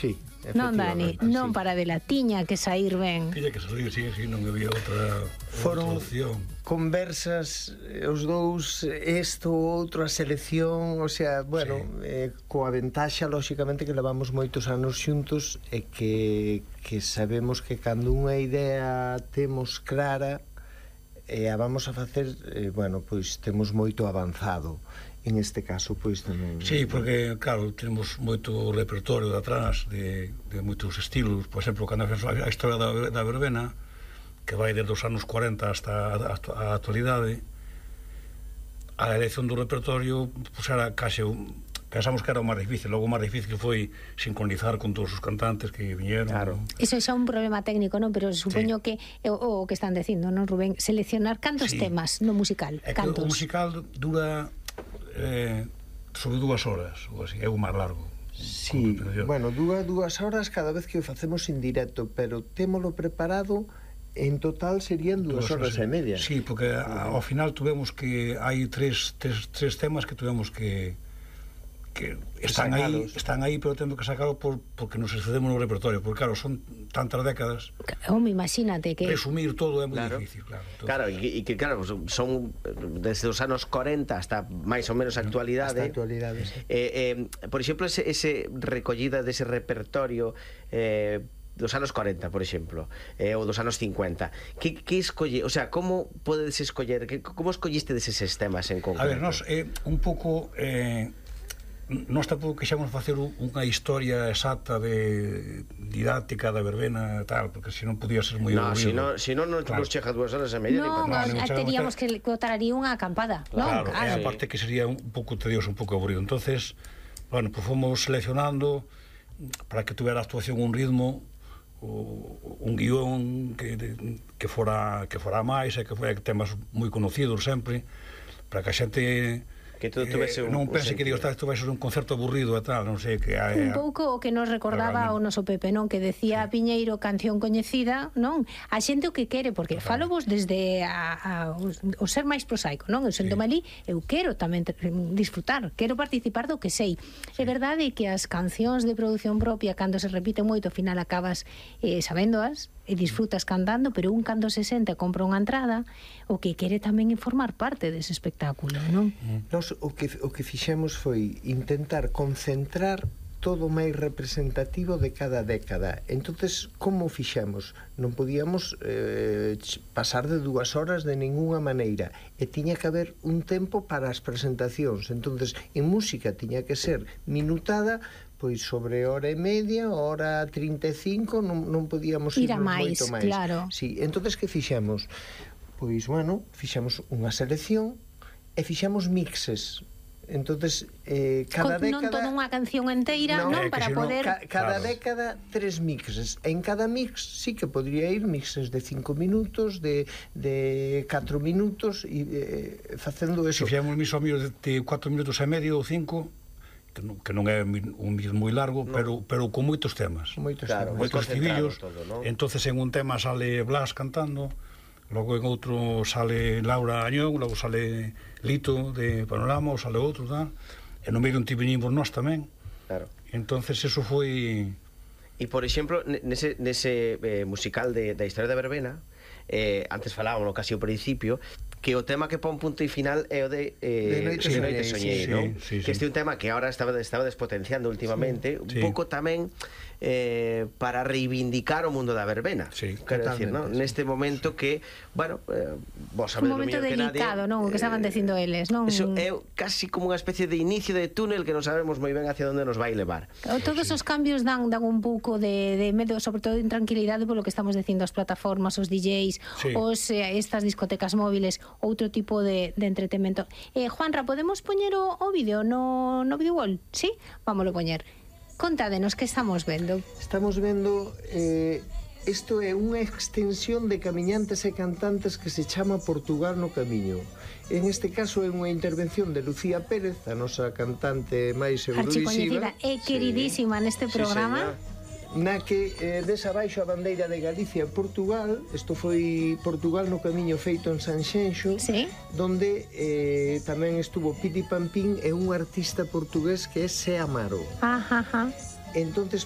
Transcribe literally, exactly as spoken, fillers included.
Sí, Non, Dani, non para de la tiña que saír ben. Tiña que saír, sí, sí, non había outra Foron opción. Conversas, os dous, isto, outro, a selección, o sea, bueno, sí. eh, coa ventaxa, lóxicamente, que levamos moitos anos xuntos e que, que sabemos que cando unha idea temos clara e a vamos a facer, eh, bueno, pois temos moito avanzado. En este caso, pois tamén... Sí, porque, claro, temos moito repertorio de atrás de, de moitos estilos. Por exemplo, cando a historia da, da verbena, que vai desde os anos cuarenta hasta a, a actualidade, a elección do repertorio pues, era case un, pensamos que era o máis difícil. Logo o máis difícil foi sincronizar con todos os cantantes que viñeron. Claro. Iso xa é un problema técnico, non? Pero supoño sí. que o, o que están dicindo, non, Rubén? Seleccionar cantos sí. temas no musical. É que cantos. O musical dura eh, sobre dúas horas, ou así, é o máis largo. Sí, bueno, dúas, dúas horas cada vez que o facemos en directo, pero témolo preparado. En total serían dúas horas e media. Sí, porque ao final tuvemos que hai tres, tres, tres temas que tuvemos que que están aí, están aí, pero temos que sacarlo por, porque nos excedemos no repertorio, porque claro, son tantas décadas. Home, imagínate que resumir todo é moi claro. difícil, claro. Entonces, claro, e que claro, son desde os anos cuarenta hasta máis ou menos a actualidade. Hasta a actualidade, sí. Eh, eh, por exemplo, ese, ese recollida dese repertorio eh dos anos cuarenta, por exemplo, eh, ou dos anos cincuenta. Que, que escolle, o sea, como podedes escoller, que, como escolliste deses temas en concreto? A ver, nós, eh, un pouco eh, nós tampouco quixemos facer unha historia exacta de didáctica da verbena e tal, porque se non podía ser moi no, aburrido. Si non, non claro. nos chega dúas horas e media. Non, no, no, teríamos que cotaría unha acampada. Claro, non? Claro. E aparte que sería un pouco tedioso, un pouco aburrido. Entonces, bueno, pues fomos seleccionando para que tuvera a actuación un ritmo, un guión que, que fora que fora máis e que fora temas moi conocidos sempre, para que a xente que todo tuvese eh, un, non pense que digo, isto vai ser un concerto aburrido e tal, non sei que hai, un pouco o que nos recordaba o noso Pepe, non? Que decía sí. Piñeiro, canción coñecida, non? A xente o que quere, porque falo vos desde a, a, o ser máis prosaico, non? Eu sento sí. malí, eu quero tamén disfrutar, quero participar do que sei. Sí. É verdade que as cancións de produción propia, cando se repiten moito, ao final acabas eh, sabéndoas e disfrutas cantando, pero un cando se senta compra unha entrada, o que quere tamén informar parte dese espectáculo, non? Nos o que o que fixemos foi intentar concentrar todo o máis representativo de cada década. Entonces, como fixemos? Non podíamos eh, pasar de dúas horas de ningunha maneira, e tiña que haber un tempo para as presentacións. Entonces, en música tiña que ser minutada, pois sobre hora e media, hora trinta e cinco, non, non podíamos ir máis, moito máis. Claro. Sí, entonces que fixemos? Pois, bueno, fixemos unha selección e fixemos mixes. Entonces, eh, cada Con, década... Non toda unha canción enteira, no, non? Eh, Para no, poder... Ca, cada claro. década, tres mixes. En cada mix sí que podría ir mixes de cinco minutos, de catro minutos, e eh, facendo eso. Se fixemos mis amigos de cuatro minutos e medio ou cinco, que non, que non é un mix moi largo, no. pero pero con moitos temas. Moitos claro, temas. Moitos estribillos. Todo, ¿no? Entonces en un tema sale Blas cantando, logo en outro sale Laura Añón, logo sale Lito de Panorama, ou sale outro, tal. E no medio intervenimos nós tamén. Claro. Entonces eso foi... E por exemplo, nese, nese eh, musical de, da historia da verbena, eh, antes falábamos casi ao principio, que o tema que pon punto e final é o de eh, de Noite sí, Soñei, Soñei, sí, ¿no? sí, sí, que sí. este é un tema que ahora estaba, estaba despotenciando últimamente, sí, un sí. pouco tamén eh, para reivindicar o mundo da verbena. Sí, quero decir, ¿no? sí. Neste momento sí. que, bueno, eh, vos Un sabedes momento que delicado, nadie, non? O que estaban dicindo eles, non? Eso é casi como unha especie de inicio de túnel que non sabemos moi ben hacia onde nos vai levar. Todos os cambios dan, dan un pouco de, de medo, sobre todo de intranquilidade, polo que estamos dicindo, as plataformas, os D Js, sí. os, eh, estas discotecas móviles, outro tipo de, de entretenimento. Eh, Juanra, podemos poñer o, o vídeo no, no video wall? Sí? Vámoslo poñer. Contádenos que estamos vendo. Estamos vendo... Eh, isto é unha extensión de camiñantes e cantantes que se chama Portugal no Camiño. En este caso é unha intervención de Lucía Pérez, a nosa cantante máis eurovisiva e queridísima sí. neste programa. Sí, na que eh, desabaixo a bandeira de Galicia e Portugal. Isto foi Portugal no Camiño feito en Sanxenxo, sí. donde eh, tamén estuvo Piti Pampín e un artista portugués que é Se Amaro. Ajá, ajá. Entonces